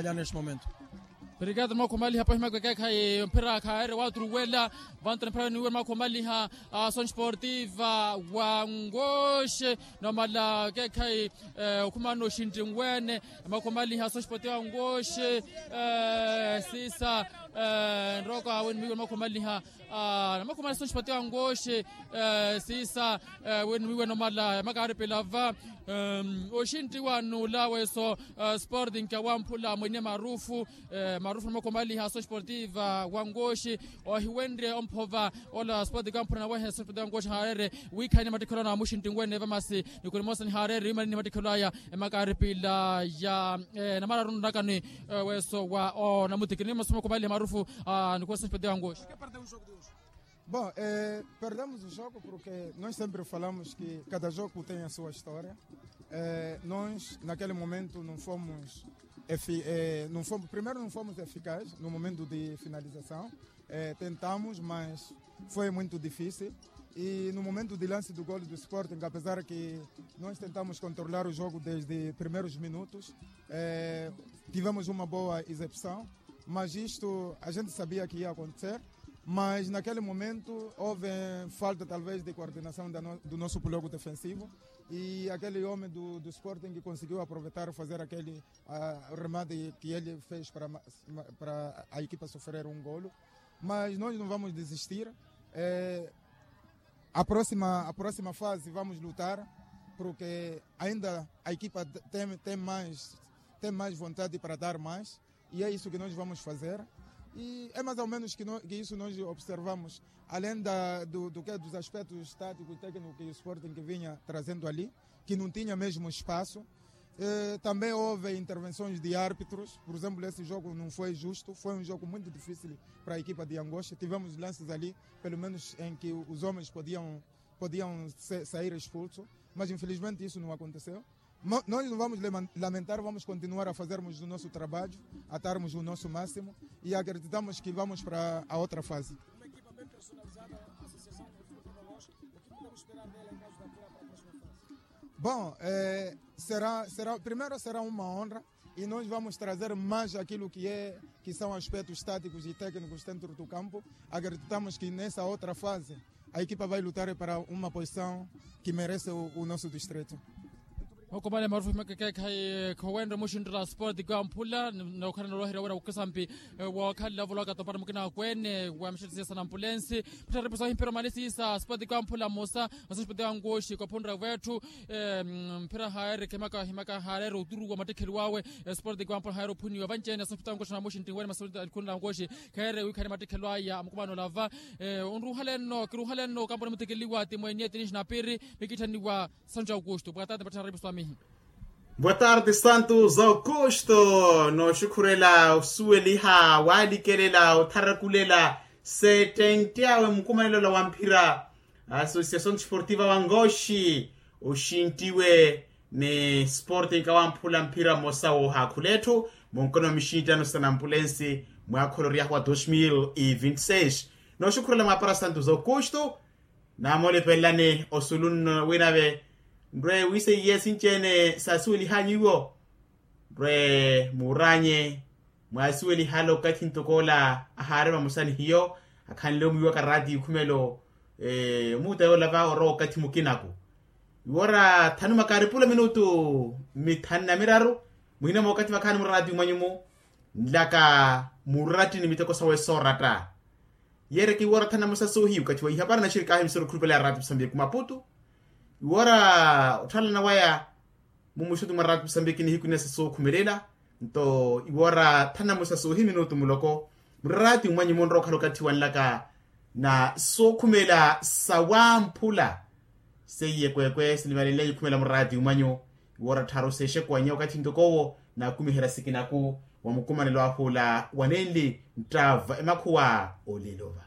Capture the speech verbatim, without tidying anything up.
Neste momento. Obrigado mwakhumaliha pahi makwekekhayi mphira khaere waturuwela. Vantu na mphira niwe mwakhumaliha. Ason sportiva wa ngoxe nomala kekhayi okhumana oxinti nweene. Mwakhumaliha ason sportiva wa ngoxe sisa nroka wenimiwe mwakhumaliha. Namwakhumaliha ason sportiva wa ngoxe sisa wenimiwe nomala makaaripila va oxinti wa nula weso. Sporting kawamphula mwene marufu marufu na mwakhumaliha aso sportiva wa ngoxi ohiwenrye omphova ola sporting kawamphula nawehe aso sporting wa ngoxi haarere wiikhalani mattikhelwa na muxinti nweene vamasi. Nikuni mosa nihaarere imanini mattikhelwa aya emakaaripila ya namararu nnakani weso wa onamutikini mosa mwakhumaliha marufu. Nikuni aso sporting wa ngoxi. Bom, perdemos o jogo porque nós sempre falamos que cada jogo tem a sua história. Nós naquele momento não fomos não fomos primeiro não fomos eficazes no momento de finalização. Tentamos mas foi muito difícil. E no momento de lance do golo do sporting apesar que nós tentamos controlar o jogo desde primeiros minutos, tivemos uma boa exibição. Mas isto a gente sabia que ia acontecer. Mas naquele momento houve falta talvez de coordenação do nosso bloco defensivo. E aquele homem do sporting conseguiu aproveitar fazer aquele remate que ele fez para a equipa sofrer um golo. Mas nós não vamos desistir. A próxima fase vamos lutar porque ainda a equipa tem mais vontade para dar mais. E é isso que nós vamos fazer. E é mais ou menos que isso nós observamos além da do que dos aspectos táticos técnicos que o sporting vinha trazendo ali, que não tinha mesmo espaço. Também houve intervenções de árbitros. Por exemplo esse jogo não foi justo, foi um jogo muito difícil para a equipa de angoxa tivemos lances ali pelo menos em que os homens podiam podiam sair expulsos. Mas infelizmente isso não aconteceu. Nós não vamos lamentar vamos continuar a fazermos o nosso trabalho, a darmos o nosso máximo. E acreditamos que vamos para a outra fase. Bom, será primeiro será uma honra e nós vamos trazer mais aquilo que é que são aspectos táticos e técnicos dentro do campo. Acreditamos que nessa outra fase a equipa vai lutar para uma posição que merece o nosso distrito. Okomale marufu makekekhayi khowenre muxinttula sport kwamphula. Nokhala nolwahira wira wokisampi wokhala volaka topara mukina kwene wa mixetisiya sa nampulensi. Mphira repusa himpira omalisi sa sport kwamphula mosa. Masa sport wangoxi kophunre wetthu mphira haere khemaka himaka hareere oturuwa mattikheli wawe. Sport kwamphula haere ophuniwa vanci-ene sa sport wangoxi na muxintti wene masa sport wangoxi. Kheere wiikhani mattikhelo aya amukumano olava. Onruhalenno kiruhalenno kamponi mutikiliwa ti mweniye tinixi na piiri. Mikiitthaniwa santu ja aukusto boa tarde mpatthana ripuso amihi. Boa tarde santu ja aukusto. Nooxukhurela osuweliha walikelela otharakulela settenti awe mukumanelo ola wa mphira. Associação desportiva wangoxi oxintiwe ni sporting kawamphula mphira mmosa woohaakhula etthu munkono wa mixinttano sa nampulensi. Mwaakha oloryahu wa dos mil e vinte e seis. Nooxukhurela mwaapara santu ja aukusto. Namoolipelelani osulu nno winave nrwe wiiseiye sinci-ene saasuwelihanyu iwo. Nrwe muuranye mwaasuwelihale okathi ntoko ola ahaari vamosa ni hiyo akhanle omwiiwaka raati ikhumelo. Omuuta yoola va orowa okathi mukinaku iwo ora thanu makaaripula minutu mithanu na miraru. Muhina mookathi vakhaani muraati umwanyu-mu nlaka murattini miteko sawe sooratta. Yeereke iwoora thanamosa soohiyu okathi wa ihapara naxirikaahi misoro khulupale ya raati musambiki maputu. Iwoora otthaalana waya mumuxutu mwa raati musambiki nihiku inesa sookhumelela. Nto iwoora thanamosa soohiyu minutu muloko muraati mmwanyu munrowa okhala okathi wanlaka na sookhumela sawamphula. Seiye kweekwe sinivalenleya ikhumela muraati umwanyu. Iwoora tthaaru seexekuwanya okathi ntoko owo naakumiherya sikinaku wa mukumanelo ahu ola wanenli nttaava emakhuwa olelo va.